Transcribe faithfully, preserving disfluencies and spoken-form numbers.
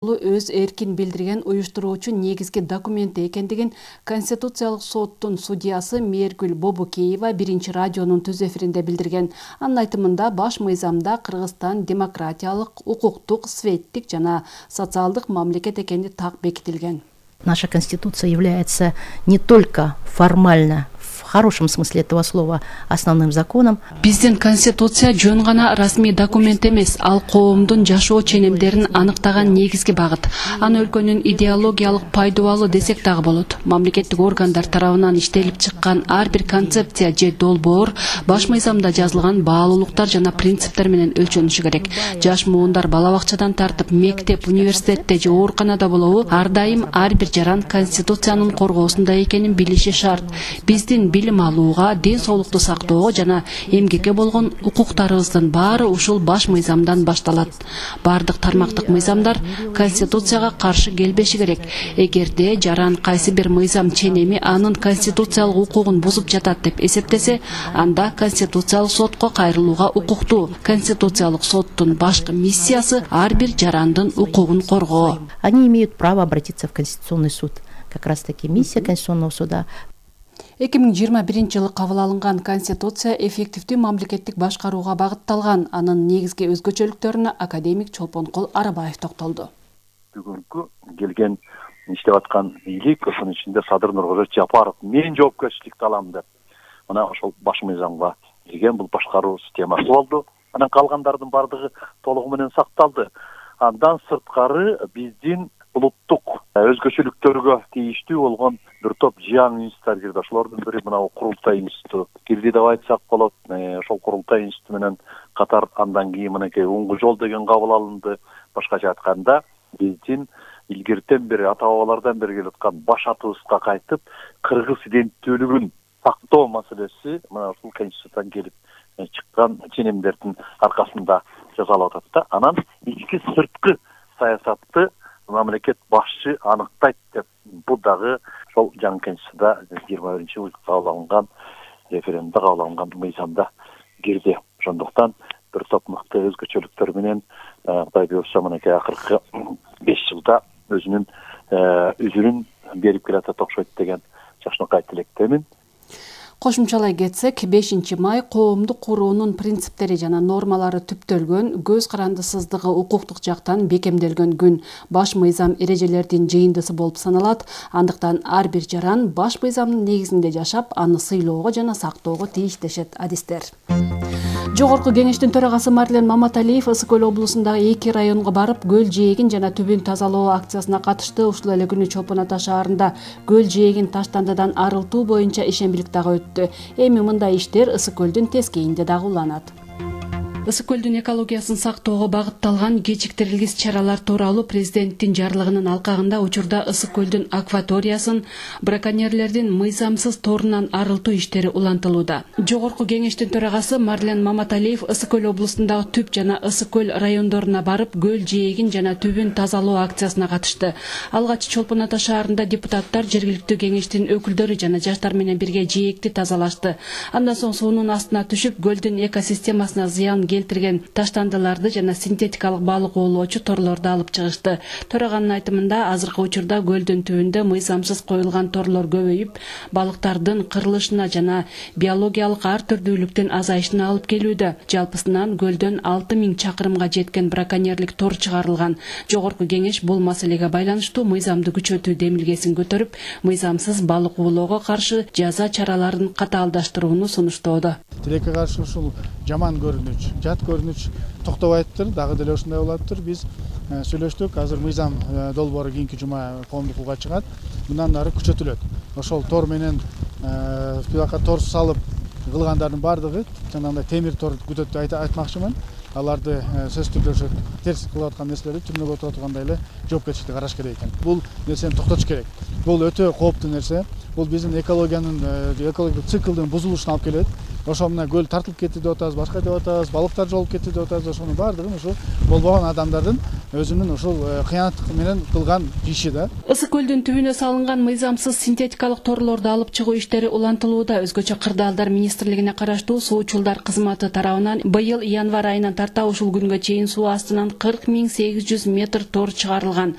өз эркин билдирген уюштуруучу негизги документи экендигин Конституциялык соттун судьясы Мээргүл Бобукеева биринчи радионун түз эфиринде билдирген. Анын айтымында баш мыйзамда Кыргызстан демократиялык, укуктук, светтик жана социалдык мамлекет экени так бекитилген. Наша Конституция является не только формально, в хорошем смысле этого слова, основным законом. Биздин Конституция жөн гана расмий документ эмес, ал коомдун жашоо ченемдерин аныктаган негизги багыт. Аны өлкөнүн идеологиялык пайдубалы десек дагы болот. Мамлекеттик органдар тарабынан иштелип чыккан ар бир концепция же долбоор баш мыйзамда жазылган баалуулуктар жана принциптер менен өлчөнүшү керек. Жаш муундар бала бакчадан тартып мектеп, университетте же ооруканада болобу, ар дайым ар бир жаран Конституциянын коргоосунда экенин билиши шарт. Биздин билим алууга, ден соолукту сактоого жана эмгекке болгон укуктарыбыздын баары ушул баш мыйзамдан башталат. Бардык тармактык мыйзамдар Конституцияга каршы келбеши керек. Эгерде жаран кайсы бир мыйзам ченеми анын конституциялык укугун бузуп жатат деп эсептесе, анда Конституциялык сотко кайрылууга укуктуу. Конституциялык соттун башкы миссиясы ар бир жарандын укугун коргоо. Они имеют право обратиться в Конституционный суд. Как раз таки миссия Конституционного суда. эки миң жыйырма биринчи жылы кабыл алынган Конституция эффективдүү мамлекеттик башкарууга багытталган. Анын негизги өзгөчөлүктөрүнө академик Чолпонкул Арабаев токтолду. Бүгүнкү келген иштеп аткан бийлик, ошонун ичинде Садыр Нуркожо Жапаров мен жоопкерчиликти алам деп мына ошол баш мыйзамга кирген бул башкаруу системасы болду. Анан калгандардын бардыгы толугу менен сакталды. Андан сырткары биздин улуттук өзгөчөлүктөргө тийиштүү болгон бир топ жыяң институттар кирди. Ошолордун бири мына Курултай институту кирди деп айтсак болот. Ошол Курултай институту менен катар андан кийин мынакей Уңгу жол деген кабыл алынды. Башкача айтканда биздин илгертен бери ата бабалардан бери келаткан баш атыбызга кайтып, кыргыз иденттүүлүгүн сактоо маселеси мына ушул Конституциядан келип чыккан ченемдердин аркасында жасалып атат да. Анан ички сырткы саясатты мамлекет башчы аныктайт деп бул дагы ошол жаңы Конституцияда жыйырма биринчи жылы кабыл алынган референдумда кабыл алынган мыйзамда кирди. Ошондуктан бир топ мыкты өзгөчөлүктөр менен Кудай буйрса мынакей акыркы беш жылда өзүнүн үзүрүн берип келатат окшойт деген жакшынакай тилектемин. Кошумчалай кетсек, бешинчи май коомдук куруунун принциптери жана нормалары түптөлгөн, көз карандысыздыгы укуктук жактан бекемделген күн. Баш мыйзам эрежелердин жыйындысы болуп саналат. Андыктан ар бир жаран баш мыйзамдын негизинде жашап, аны сыйлоого жана сактоого тийиш дешет адистер. Жогорку кеңештин төрагасы Марлен Маматалиев Ысык көл облусундагы эки районго барып, көл жээгин жана түбүн тазалоо акциясына катышты. Ушул эле күнү Чолпон Ата шаарында көл жээгин таштандыдан арылтуу боюнча ишембилик дагы өттү. Эми мындай иштер Ысык көлдүн тескейинде дагы уланат. Ысык көлдүн экологиясын сактоого багытталган кечиктирилгис чаралар тууралуу президенттин жарлыгынын алкагында учурда Ысык көлдүн акваториясын браконьерлердин мыйзамсыз торунан арылтуу иштери улантылууда. Жогорку кеңештин төрагасы Марлен Маматалиев Ысык көл облусундагы Түп жана Ысык көл райондоруна барып, көл жээгин жана түбүн тазалоо акциясына катышты. Алгач Чолпон Ата шаарында депутаттар, жергиликтүү кеңештин өкүлдөрү жана жаштар менен бирге жээгти тазалашты. Андан соң суунун астына түшүп, көлдүн экосистемасына зыян келтирген таштандыларды жана синтетикалык балык оолоочу торлорду алып чыгышты. Төраганын айтымында азыркы учурда көлдүн түбүндө мыйзамсыз коюлган торлор көбөйүп, балыктардын кырылышына жана биологиялык ар түрдүүлүктүн азайышына алып келүүдө. Жалпысынан көлдөн алты миң чакырымга жеткен браконьерлик тор чыгарылган. Жогорку кеңеш бул маселеге байланыштуу мыйзамды күчөтүү демилгесин көтөрүп, мыйзамсыз балык оолоого каршы жаза чараларын катаалдаштырууну сунуштоодо. Тилекке каршы ушул жаман көрүнүч, жат көрүнүч токтобайыптыр, дагы деле ушундай болуптур. Биз сүйлөштүк, азыр мыйзам долбоору кийинки жума коомдук укугга чыгат. Мындан ары күчөтүлөт. Ошол тор менен бияка тор салып кылгандардын бардыгы жанагындай темир тор күтөт айтмакчымын. Аларды сөзсүз түрдө ошо терс кылып аткан нерселерди түрмөгө отура тургандай эле жоопкерчиликти караш керек экен. Бул нерсени токтотуш керек. Бул өтө кооптуу нерсе. Бул биздин экологиянын экологиялык циклдын бузулушуна алып келет. ошо мына көл тартылып кетти деп атабыз, башка деп атабыз, балыктар жолуп кетти деп атабыз. Ошонун баардыгы ушу болбогон адамдардын өзүнүн ушул кыянат менен кылган иши да. Ысык көлдүн түбүнө салынган мыйзамсыз синтетикалык торлорду алып чыгуу иштери улантылууда. Өзгөчө Кырдаалдар министрлигине караштуу суучулдар кызматы тарабынан быйыл январь айынан тарта ушул күнгө чейин суу астынан кырк миң сегиз жүз метр тор чыгарылган.